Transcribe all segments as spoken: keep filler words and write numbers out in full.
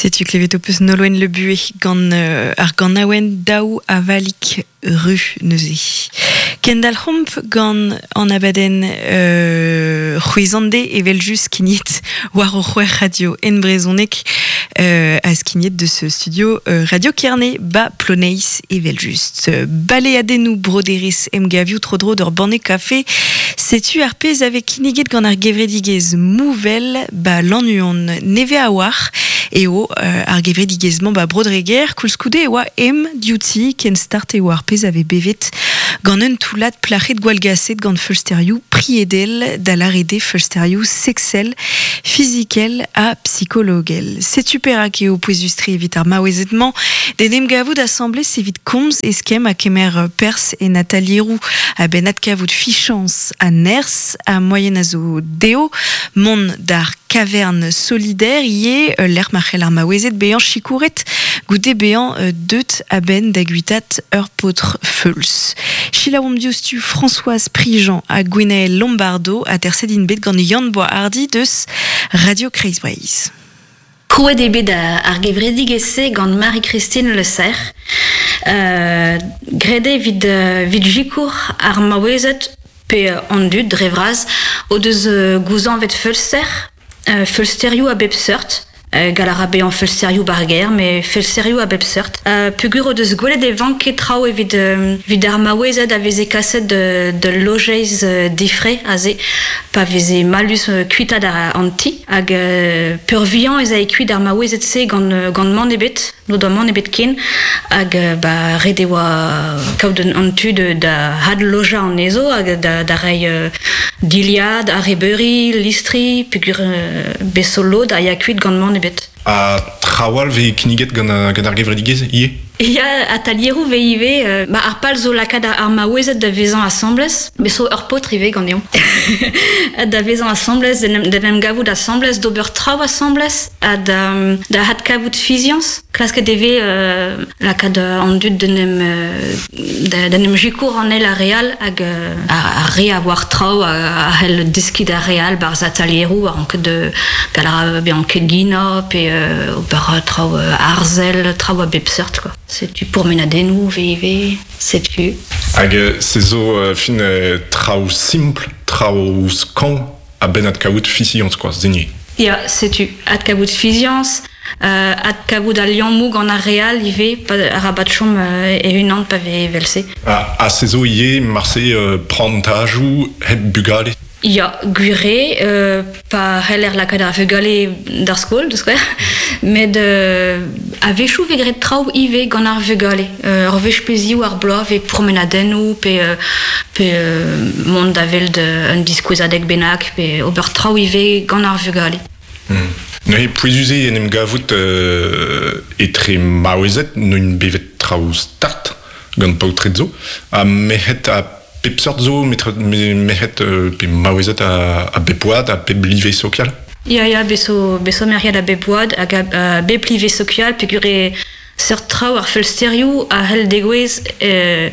Setu klevet ho peus Nolwenn Le Bué gant euh, ar ganaouenn daou avalik ru neuze. Kendal homp gant an abadenn euh, c'hwezande evel just skignet war o c'hwec'h radio en brezhoneg euh, a skignet de ce studio euh, Radio Kerne ba Ploneis evel just. Baleadennoù broderez emgavioù tro-dro d'ur banne kafe setu ar pezh ave kinniget gant ar gevredigezh Mouvel ba Lannuon neve a war eo euh, ar gevredigezh-mañ ba Brodreger koulskoude e oa em diouti ken start eo ar pezh ave bevet gant un toullad plac'hed gwallgaset gant feulsterioù priedel da lâret eo feulsterioù sexel, fizikel ha psikologel. Setu perak eo pouezus-tre evit ar maouezed-mañ d'en em gavout asambles evit komz eskemm ha kemer perzh en atalieroù a-benn adkavout fichañs ha nerzh ha moaien a zo dezho mont d'ar caverne solidaire ivez euh, lec'h ma c'hell ar maouezed bezañ sikouret goude bezañ euh, deut a-benn da guitat ur paotr feuls. Selaouomp diouzhtu Françoise Prigent ha Gwenaël Lombardo aterset int bet gant Yann Boishardy deus Radio Kreiz Breizh. Krouet eo bet ar gevredigezh-se gant Marie-Christine Le Serre. Euh, graet eo evit, evit sikour ar maouezed pe an dud dre vras o deus gouzañvet feulster, euh, feulsterioù a bep seurt. Euh, gall a ra bezañ feulsterioù ba'r gêr, met feulsterioù a bep seurt. Euh, peogwir o deus gwelet e vanke traoù evit, euh, evit ar maouezed a veze kaset de, de lojeiz euh, difre aze, pa veze mallus euh, kuitaat ar, an ti, hag euh, peurvuiañ ez ae kuit ar maouezed-se gant, gant mann ebet, n'o doa mann ebet ken, hag euh, ba, ret e oa kaout an tu de, da adlojañ anezho, hag da, da reiñ euh, dilhad, arrebeuri, listri, peogwir euh, bez zo lod a ya kuit gant mann ebet. Ha traoù all 'vez kinniget gant, gant ar gevredigezh ivez? Ya, atalieroù 'vez ivez, euh, ba ar pal zo lakaat ar maouezed da vezañ asambles, bez zo ur paotr ivez ganeomp. Da vezañ asambles, d'en em, d'en em gavout asambles, d'ober traoù asambles, ha da, da adkavout fiziañs. Klasket e vez euh, lakaat an dud d'en em, euh, da, d'en em sikour an eil ar re all hag euh, ar, ar re a oar traoù a, a c'hell deskiñ d'ar re all 'barzh atalieroù a rank de gall a ra bezañ keginañ pe euh, ober traoù arzel, traoù a bep seurt quoi. Setu pourmenadennoù 'vez ivez, setu. Hag euh, se zo euh, fin euh, traoù simpl, traoù skañv a-benn adkavout fiziañs quoi, zenier. Ya, setu adkavout fiziañs, euh, adkavout al liammoù gant ar re all ivez, pa arabat chom euh, e-unan pa vez evel-se. Ha, ha se zo ivez marse euh, prantajoù hep bugale. Ya, gwir eo, euh, pa c'heller lakaat ar vugale d'ar skol, da skouer, met euh, a-wechoù 'vez graet traoù ivez gant ar vugale. Euh, ur wech pe ziv ar bloaz 'vez promenadennoù pe, euh, pe euh, mont da welet un diskouezadeg bennak pe ober traoù ivez gant ar vugale. Hmm. Neuze pouezus eo en em gavout euh, etre maouezed neuint bevet traoù start gant paotred zo, ha merc'hed a bep seurt zo, metre- me- merc'hed euh, pe maouezed a, a bep oad, a bep live sokial. Ya, ya, bez zo, bez zo merc'hed a bep oad hag a, a bep live sokial peogwir eo seurt traoù ar feulsterioù a c'hell degouezh euh,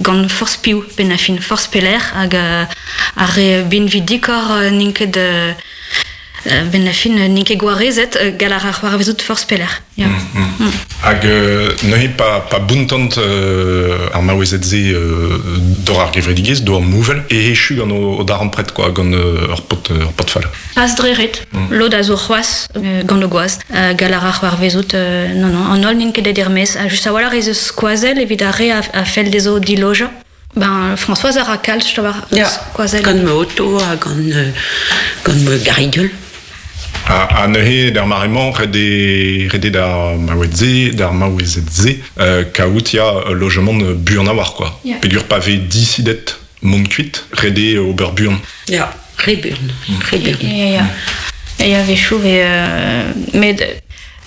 gant forzh piv 'benn ar fin, forzh pelec'h hag euh, ar re binvidikoc'h euh, n'int ket euh, euh, 'benn ar fin n'int ket gwarezet euh, gall a ra c'hoarvezout forzh pelec'h. Ya. Mm. Hag euh, neuze pa, pa bountant euh, ar maouezed-se euh, dor ar gevredigezh, dor Mouvel, e echu gant o, o darempred quoi, gant euh, ur paotr, ur paotr fall. Pas dre ret, lod a zo c'hoazh euh, gant o gwaz. Euh, gall a ra c'hoarvezout, euh, non, non, an holl n'int ket aet er-maez. Ha just a-walc'h ez eus skoazell evit ar re a, a fell dezho dilojañ. Ben, Françoise a ra kalz, je war Ya, skoazell. gant ma oto ha gant, euh, gant ma garigol. Ha, ha neuze d'ar mare-mañ ret eo ret eo d'ar maouezed-se, d'ar maouezed-se, euh, kaout ya lojamant buan a-walc'h quoi. Ya. Peogwir pa vez disidet mont kuit, ret eo ober buan. Ya, re buan, re buan. Ya, ya. Ya, ya, a-wechoù 'vez, euh, met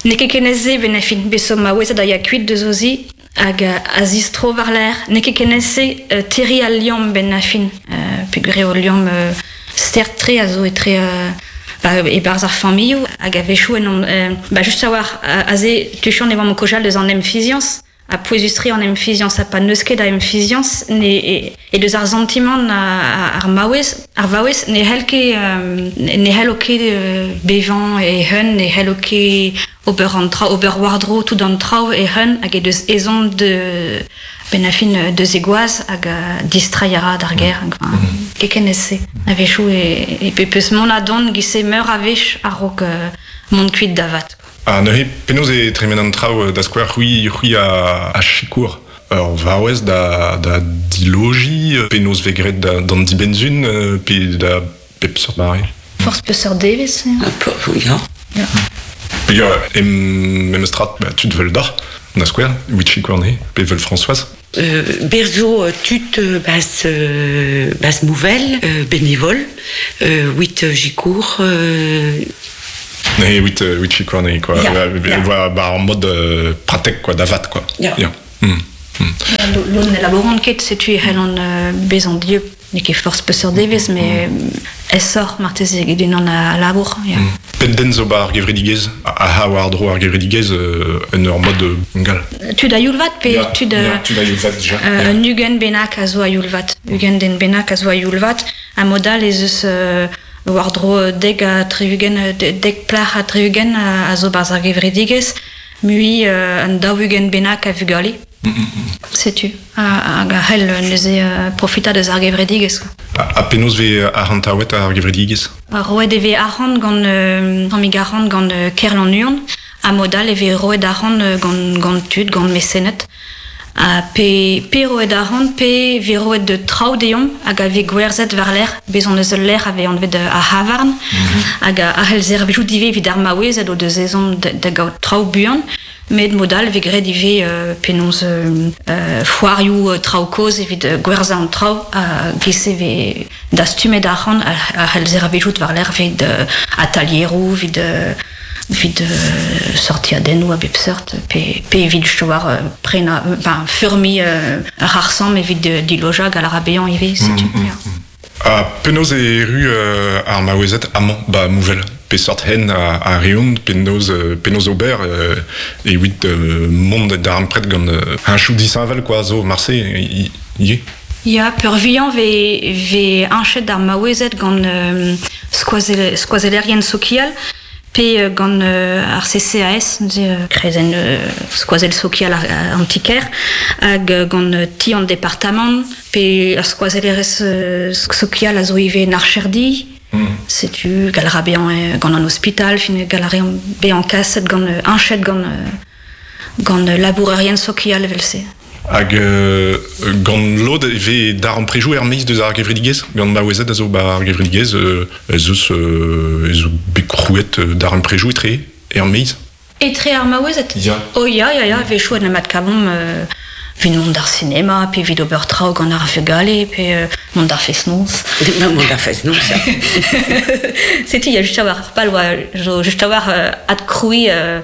n'eo ket ken aes-se 'benn ar fin, bez zo maouezed a ya kuit deus o zi hag euh, a zistro war-lerc'h. N'eo ket ken aes-se euh, terriñ al liamm 'benn ar fin. Euh, peogwir eo ul liamm euh, start-tre a zo etre euh, ba, e-barzh ar familhoù hag a-wechoù en euh, ba just a-walc'h aze tuchant e oamp o kaozeal deus an emfiziañs. a pouezustre an emfiziañs, ha pa n'eus ket a emfiziañs, ne, e, e deus ar santimant ar maouez, ar vaouez, ne c'hell ket, euh, ne c'hello ket euh, bevañ e hun, ne c'hello ket ober an traoù, ober war-dro tout an traoù e hun, hag e deus ezhomm de ben a fin deus e gwaz hag a distrai a ra d'ar gêr. Hag, mm -hmm. Keken ez se. A-wechoù e, e pe peus mont a dont gise meur a wech a-raok euh, mont kuit da vat. Ha neuze penaos e tremen an traoù da skouer c'hwi, c'hwi a, a sikour ur vaouez da, da diloji, penaos vez graet da, d'an dibenzun, pe da pep seurt mare. Forzh peseurt devezh. Ya. Ya. Peogwir em memes tra, ba, tud vel doc'h, da skouer, wit sikour anezhe, pe vel Françoise. Euh, berzo tud bas, euh, bas mouvel, euh, bénévole, euh, wit jikour... Euh... Ne, wit, wit sikour anezhe, quoi. Ya, ya. Ba, ba, en mode euh, pratek, quoi, davat, quoi. Ya. Ya. Mm. Mm. Lod ne labouront ket, setu e c'hellont euh, bezañ dieub. N'eo ket forzh peseurt devezh, mais aesoc'h marteze eget unan a labour. Ya. Mm. Pet den zo ba ar gevredigezh, a ha war dro ar gevredigezh euh, en ur mod gal. Tud a youl vat pe ya, tud... Ya, tud a youl vat dija. Euh, ya. Un ugent bennak a zo a youl vat. Ugent den bennak a zo a youl vat. A mod all ez eus euh, war dro dek a tri-ugent, dek plac'h a tri-ugent a, a zo barzh ar gevredigezh, mui euh, un daou-ugent bennak a vugale. Mm -mm. Setu, hag a c'hell neuze uh, profita deus ar gevredigezh. Ha penaos vez arc'hantaouet ar gevredigezh? Roet e vez arc'hant gant euh, tammig arc'hant gant euh, Kerlannuon, ha mod all e vez roet arc'hant gant, gant tud, gant mesened. Ha pe, pe roet arc'hant, pe vez roet de traoù deomp hag a vez gwerzhet war-lerc'h, bez on eus ul lec'h a vez anvet ar havarn, mm-hmm. hag a c'hell servijout ivez evit ar maouezed o deus ezhomm da, da gaout traoù buan. Met mod all vez graet ivez euh, penaos euh, euh, foarioù euh, traoù kozh evit euh, gwerzhañ an traoù a gese vez dastumet arc'hant a c'hell servijout war-lerc'h evit euh, atalieroù, evit euh, evit euh, sortiadennoù a bep seurt, pe, pe evit war euh, prenañ, ben, feurmiñ euh, ar arsamm evit euh, dilojañ gant ar abeañ ivez, setu. Mm, mm, ya. Ha penaos e erru euh, ar maouezed amañ ba Mouvel? Peseurt hen a, a reont, penaos, penaos ober euh, evit euh, mont darempred gant euh, un chou disheñvel quoi, zo marse ivez. Ya, peurvuiañ vez, vez añchet ar maouezed gant euh, skoazel, skoazellerien sokial, pe gant euh, ar C C A S, neuze euh, kreizenn euh, skoazell sokial an ti-kêr, hag gant euh, ti an departamant, pe ar skoazellerez euh, sokial a zo ivez n'archerdi. Mm. Setu gall a ra bezañ gant an ospital, fin gall a ra bezañ kaset gant añchet gant gant labourerien sokial evel-se. Hag euh, gant lod e vez daremprejoù er-maez deus ar gevredigezh, gant maouezed a zo ba ar gevredigezh, euh, ez eus euh, ez eus bet krouet daremprejoù etre er-maez? Etre ar maouezed? Ya. Oh ya, ya, ya, a-wechoù en em adkavomp euh, evit mont d'ar cinéma, pe evit ober traoù gant ar vugale, pe euh, mont d'ar fest-noz. Non, mont d'ar fest-noz, ça. Setu, ya just a-walc'h pal oa, zo just a-walc'h euh, adkrouiñ euh,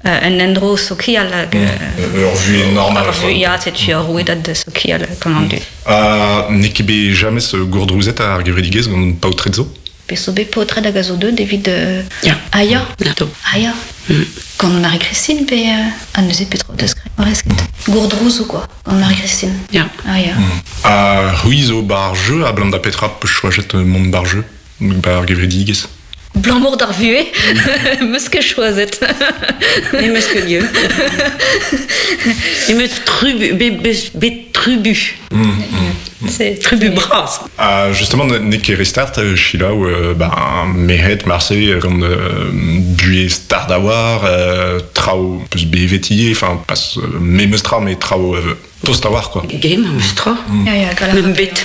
un endro sokial hag... Mm. Ur vuhez normal. Ur vuhez, ya, setu ur rouedad sokial gant an dud. Ha n'eo ket bet james gourdrouzet ar gevredigezh gant paotred zo? Pe zo bet paotred hag a zo deuet evit... Euh... Ya. Ah ya. Ya. Ah ya. Mm. Gant Marie-Christine pe... Euh, a neuze petra deus graet. Gourdrouzou quoi, gant Marie-Christine. Ya. Ah ya. Mm. Ha c'hwi zo bar jeu, a blam da petra peus choajet mont bar jeu, bar gevredigezh? Blammour d'ar vuhez, meus ket choazet. Ne meus ket lieu. Ne meus trubu, be, be, be trubu. Mm, mm. C'est trubu bras. Ah, justement, n'eo ket restart, Sheila, euh, ben, mehet, marse, gant euh, buhez start a war, euh, traoù peus bevet ivez, enfin, pas euh, memes tra, mais traoù euh, tost a war, quoi. Game, meus tra. Mm. Ya, ya, gall a ra Mem bet.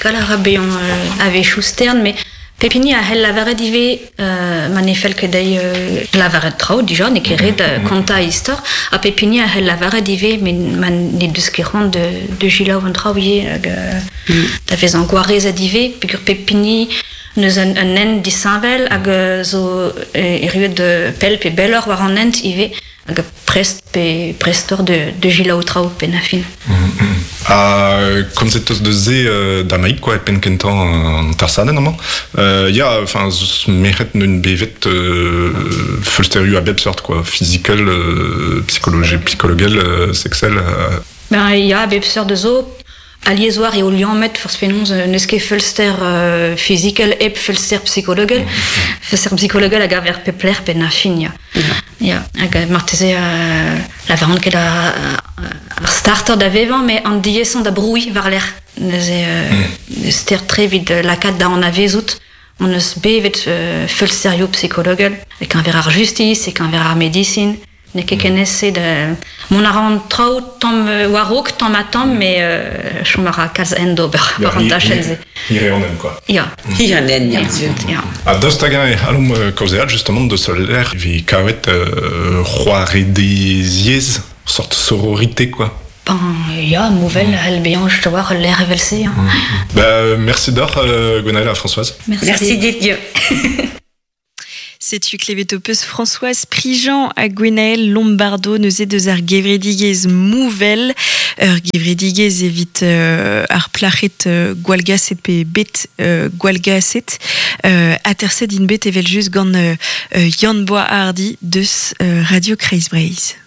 Gall a ra bezañ euh, a-wechoù stern, mais Pepini a c'hell lavaret ivez euh, ma ne fell ket dezhi euh, lavaret traoù dija, n'eo ket ret euh, kontañ istor, ha Pepini a c'hell lavaret ivez met ma ne deus ket c'hoant de, de selaou an traoù ivez hag euh, mm. da vezañ gwarezet ivez, peogwir Pepini neus un, un hent disheñvel hag euh, zo erruet de pell pe belloc'h war an hent ivez, Hag prest pe prestor de, de gilaou traoù pen a fin. Mm -hmm. Ha komzet eus deus se euh, damaik quoi, e penn kentañ an tarsadenn amañ. Euh, ya, enfin, merc'hed n'eun bevet euh, feulsterioù a bep seurt quoi, physical, euh, psychologie, psychologel, euh, sexel. Euh... Ben ya, a bep seurt zo, alies war eo liammet forzh penaos n'eus ket feulster euh, physical hep feulster psychologel. Feulster psychologel hag aver pep lec'h ben a fin, ya. Ya, hag marteze euh, la varant ket ar, ar starter da vevañ, met an diesañ da brouilh war lec'h. Neuze euh, mm. ster tre evit lakaat da an avezout. On eus bevet euh, feulsterioù psychologel, e keñver ar justice, e keñver ar medicine. N'eo ket ken ese da... Mont a ran traoù tamm war-raok, tamm ha tamm, met euh, chom a ra kalz en d'ober war an dachenn-se. Hir eo an hent, quoi. Ya. Hir an hent, ya. Ya. Ha daoust hag-eñ e c'hallomp kaozeal justement deus ul lec'h evit kavet euh, c'hoaredeziezh, sort sororité, quoi. Ben, ya, mouvel, c'hell bezañ just a-walc'h ul lec'h evel-se. Hein. Mm. Ben, merci deoc'h, euh, Gwenaël ha Françoise. Merci, merci dit, Dieu. Setu klevet ho peus Françoise Prigent ha Gwenaël Lombardo neuze deus ar gevredigezh Mouvel, ur gevredigezh evit euh, ar plac'hed euh, gwallgaset pe bet euh, gwallgaset euh, aterset int bet evel just gant euh, Yann Boishardy deus euh, Radio Kreiz Breizh.